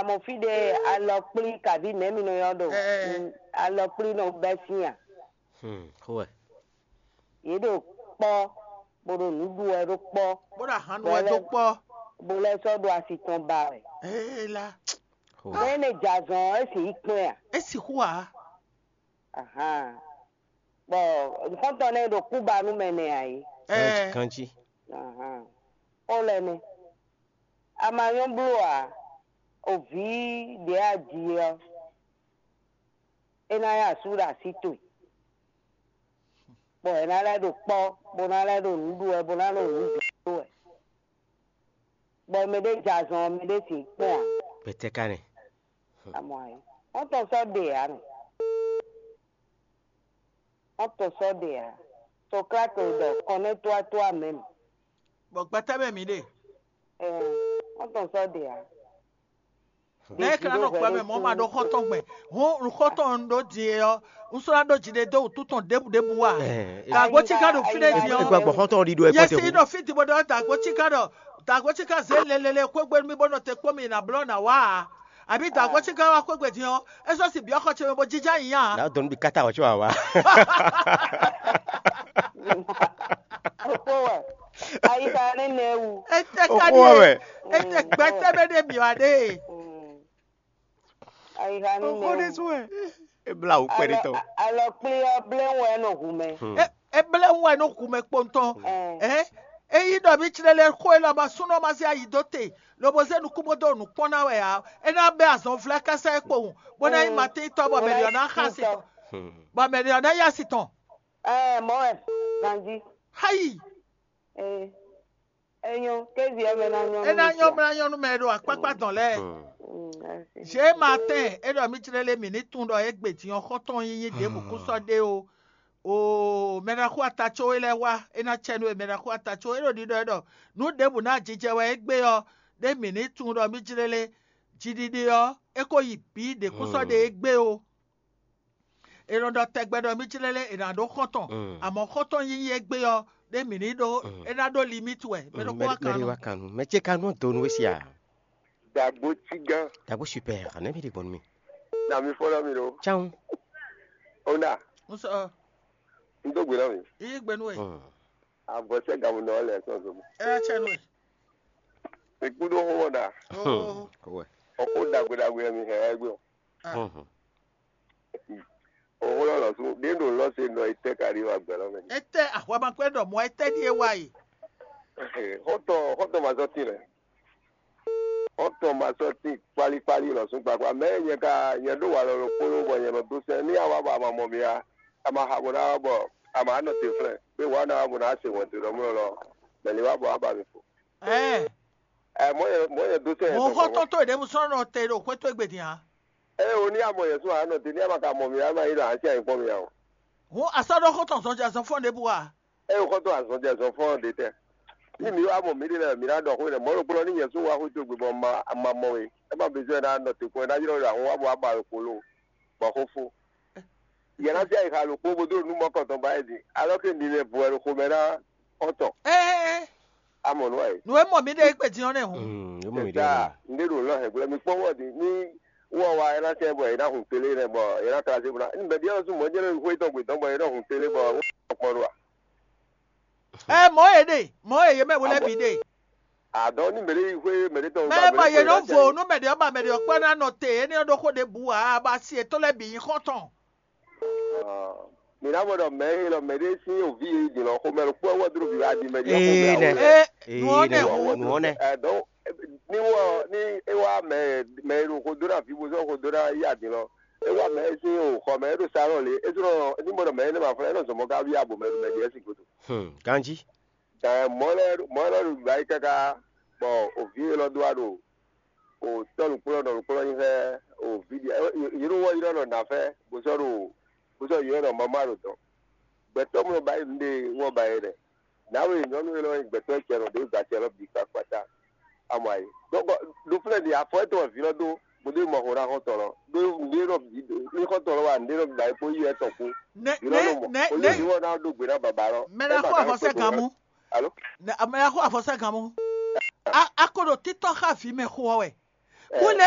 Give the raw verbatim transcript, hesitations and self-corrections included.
Amɔ fí ɖé alɔkplí kaví nɛ̌ mi nɔ ylɔ́ ɖo? Ɛɛ. Mm, alɔkplí nɔ bɛ́ sín a? Hmm, xó wɛ. Yě ɖo kpɔ́, bó ɖo nǔ ɖu wɛ ɖó kpɔ́. Bó ɖo ahan ɖu wɛ dó kpɔ́. Bó lɛ́ sɔ́ ɖo asi tɔn ba wɛ. Ee la. Xó wɛ. Mɛ énɛ́ jɛ azɔn ɔ́, é sixú kplɔ́n ɛ a? É sixú ǎ. Ahan. Bɔ nǔxɔ́ntɔn nɛ́ ɖo kúba nú mɛ nɛ ǎ é. Ɛɛ. Kanjí. Ahan. Xó lɛ́ nɛ́. A ma nyɔ́ bló ǎ. O vǐ ɖě a ji ɔ́, é ná nyí asú ɖo así towe, bɔ è ná lɛ́ ɖo kpɔ́, bó ná lɛ́ ɖo nǔ ɖu wɛ, bó ná ɖo nǔ ɖu wɛ, bɔ mɛ ɖé jɛ azɔn ɔ́, mɛ ɖé sixú kpɔ́n ǎ. Gbɛtɛ́ ka nɛ. Amɔ ayé, wọ́n tɔn sɔ́ ɖe ǎ nɔ. Wọ́n tɔn sɔ́ ɖe ǎ. Socrate ɖɔ kɔnɛ́ tóátóá mɛ̌m. Bɔ gbɛtɛ́ mɛ mǐ ɖe. Ɛɛ, wọ́n tɔn sɔ́ ɖe ǎ. Lɛ́ɛ ka nɔ kpɛ mɛ mɔ̌ ma ɖó xɔ́ntɔn gbɛn. Hǔn un xɔ́ntɔn un ɖó din e ɔ́, un sɔ́ ná ɖó jiɖe dó wǔtu tɔn ɖěbǔ ɖěbǔ a? Dǎgbó cí ka ɖo fínɛ́ din ɔ́. Gbɔ xɔ́ntɔn ɖiɖo ɛ. Yɛ si ɖɔ fí din bó ɖɔ dǎgbó cí ka ɖɔ dǎgbó cí ka zě lɛlɛlɛ xwégbé nú mì bó nɔ te kpó mì nǎ blɔ́ nǎ wá a? Àbí dǎgbó cí ka wá xwégbé din ɔ́, é sɔ́ si byɔ́ xɔ ce mɛ bó jínjɔ́n ayǐ a? Nǎ dɔn nú mi káta wɔ có wá wá. Xó wɛ. Ayixa nɛ́nɛ wú. Etɛ ka Oxó ɖie. Wɛ. Etɛ gbɛtɛ bɛ ɖe mi wa ɖe. Ayixa nɛ́nɛ Oxó ɖe wú. Sú wɛ. Ebla wò kpɛɖé tɔn. Alɔ kpli ɔ blé wɛ nɔ hu mɛ. Hmm. E e blé wɛ nɔ hu mɛ kpɔntɔn. Ɛɛ. Ɛ eyi ɖɔ mi tsrɛ lɛ xó e lɔ ma súnɔ ma zé ayi dó te, lobo zé nukún bó dó nǔ kpɔ́n ná wɛ ǎ. É ná bɛ azɔn vlɛ́ kása é kpowun, bó ná nyí matɛ́nyítɔ́ bɔ mɛ ɖě ɔ́ ná xa sí tɔn. Hmm. Bɔ mɛ ɖě ɔ́ ná yá si tɔn. Ɛɛ mɔ wɛ ganjí. Hayi. Ee. Enyo, kézi ɔ́ mɛ ná nyɔ́. É ná nyɔ́ mlá nyɔ́ nú mɛ e ɖo akpákpá dɔn lɛ́ɛ. Zé Maatɛn é ɖɔ mì jlɛ́ lé mǐ ní tunwun ɖɔ égbé din ɔ́ xɔ́ntɔn nyínyí ɖěbǔ kún sɔ́ ɖe ó. Oo, mɛ ɖaxó ata có é lɛ́ɛ wá, é ná cɛ nú we mɛ ɖaxó ata có é ɖo ɖiɖɔ é ɖɔ nǔ ɖěbǔ ná jijɛ wɛ égbé ɔ́, ɖé mǐ ní tunwun ɖɔ mì jlɛ́ lé jiɖiɖe ɔ́, é ko yi bǐ ɖě kún sɔ́ ɖe égbé ó. È nɔ ɖɔ tɛgbɛ ɖɔ mì jlɛ́ lé è nǎ ɖó xɔ́ntɔn, amɔ̌ xɔ́ntɔn yíyí égbé ɔ́, ɖé mǐ ní ɖó é ná ɖó limíti wɛ. Mɛ ɖokpó wá kan nú. Mɛ ce ka nú donu we sia. Dagbo cigán. Dagbo super, ne mi ɖe gbɔn mi. Na mi fɔ na mi ɖo. Tsan. Ona. N sɔ. N dó gbe na mi. Iye gbe nú we. Avɔsɛ gamu nɔ lɛ sɔn zomi. Ɛ cɛ nú we. Ikú ɖó xó wɔ ɖa. Oh. Kɔwɛ. Ɔkó dagbe dagbe mi hɛ wá gbé o. Ah. Òun lɔ lɔ̌ sú ɖě ɖo lɔ̌ se nɔ etɛ́ ka ɖi wá gbɛ̌ lɔ mɛ. Etɛ ahwamakpɛ ɖɔ mɔ etɛ ɖie wa yi. Xɔ́ntɔn xɔ́ntɔn ma zɔ́ tín lɛ. Xɔ́ntɔn ma zɔ́ tín kpálíkpálí lɔ̌ sú kpakpá. Mɛ nyɛ ka nyɛ ɖó wa lɔ ɖokpónɔ bɔ nyɛ nɔ dó sɛn ní a wá bɔ a ma mɔ mi a, a ma xa bɔ ná wá bɔ a ma nɔ te flɛ́. Gbé wǎ ná wá bɔ ná se wɛn te ɖɔ mlɔ́ lɔ. Mɛ lě wá bɔ á ba mi fo. Ɛɛ. Ɛ mɔ̌ nyɛ mɔ̌ nyɛ dó sɛn. Mɔ̌ xɔ́ntɔn tó ɖěbǔ sɔ́ nɔ te ɖo xwé tó gbe din ǎ. Ɛ o ní amɔ yɛn sún àánɔ te ní ama ka mɔ mi ama yi ɖo àti àyìnkpɔ́n mi ǎ o. Hǔn a sɔ́ ɖɔ xɔ́ntɔn zɔnjɛ zɔnfɔ́n ɖěbǔ a? Ɛ o xɔ́ntɔn azɔnjɛ zɔnfɔ́n ɖě tɛ́. Ní mi wá mɔ mǐ ɖe lɛ́ɛ mǐ ná ɖɔ xó nɛ́ mɔ̌ ɖokpónɔ ní nyɛ sún wá xwé tó gbe bɔ ma ma mɔ we. É ma bezɔ́ ná nɔ te kpɔ́n ná ylɔ́ ɖo ahun wá bɔ wá ba ɖo kpolo bɔ xó fó. Yɛ ná fí ayixa ɖokpó bó dó nú mɔkɔntɔn ba yɛ din. Alɔ ke mi mɛ bu wɛ ɖo xomɛ ná xɔ́ntɔn. Ɛɛ. Amɔ nú ɛ. Nǔ e mɔ mǐ ɖe é kpe din ɔ́ nɛ́ hǔn. Mm, yóò mú mi ɖe Ɛta, ɔ́. Ndé ɖo lɔ hɛn gblɔ mi kpɔ́n wɔ di ní wɔ wa ɛ ná tɛ bɔ ɛ ná hun télé nɛ bɔ ɛ ná kla se bɔ ná. Bɛ biɛ lɔ sún mɔ jɛ lɔ xwé tɔn gbe tɔn bɔ ɛ ná hun télé bɔ wọ́n kpɔn ɖo a. Ɛ mɔ e ɖe, mɔ e yě mɛ wo lɛ bǐ ɖe. Adɔ ní mɛ ɖe yi xwé mɛ ɖe tɔn. Mɛ bɔ yě nɔ vo nú mɛ ɖe ɔ́ ba mɛ ɖe ɔ́ kpɔ́ ná nɔ te, énɛ́ ɔ́ ɖó xó ɖě bǔ ǎ, ba si yětɔn lɛ́ɛ bǐ nyí xɔ́ntɔn. Mǐ ná mɔ ɖɔ mɛ e lɔ mɛ ɖé sín oví e yi din lɔ xomɛ ɖokpó ɔ́ wɛ dó ɖo vǐ wá din mɛ ɖi xomɛ Ee, awo lɛ. Ee, nǔ ɔ́ nɛ nɛ, hǔn. Nǔ ɔ́ nɛ. Ɛ, donc, ní wɔ ní é wá mɛ mɛ e ɖo xo dó ná vǐ bó sɔ́ xo dó ná yi adin lɔ, é wá mɛ e sín o xɔ mɛ é ɖo salɔn lě, é sɔ́ ní mɔ ɖɔ mɛ énɛ́ ma flɛ́ é nɔ zɔn mɔ ká wí abo mɛ ɖo mɛ ɖi ɛ sin godo. Hmm, ganjí. Ɛ, mɔ̌ lɛ́ɛ mɔ̌ lɛ́ɛ ɖo gbǎ yi káká bɔ o vǐ élɔ́ dó wá ɖo o tɔ́ nǔkplɔ́nɔ nǔkplɔ́nɔ nyi xlɛ́ o vǐ ɖi yě ɖo wɔ ylɔ́ nɔ nǎ fɛ́ bó sɔ́ ɖo bó sɔ́ ylɔ́ nɔ mama ɖo dɔ̌n. Gbɛtɔ́ mlɔ́ ba yi nǔɖé wɔ ba yi ɖɛ. Nǎwe nyɔ̌nu élɔ́ nyí gbɛtɔ́ cɛnɔ ɖě gba acɛ lɔ bǐ kpakpata. Amɔ ayi. Donc ɖo flɛ́ ɖi afɔ étɔn vǐ lɔ dó bó dó mɔ xo ná xɔ́ntɔn lɔ. Ɖó nǔɖé nɔ bǐ ní xɔ́ntɔn lɔ wa nǔɖé nɔ bǐ ba yi kpó yi etɔn kpó. Nɛ Vǐ lɔ nɛ nɔ mɔ nɛ bó nɛ yí wɔ ná ɖó gbe ná baba lɔ. Mɛ ná xɔ avɔsɛ gan mú. Alo? Nɛ mɛ ná xɔ avɔsɛ gan mú. A a ko ɖo títɔ́ xá vǐ mɛ xo ɔ́ wɛ. Bó lɛ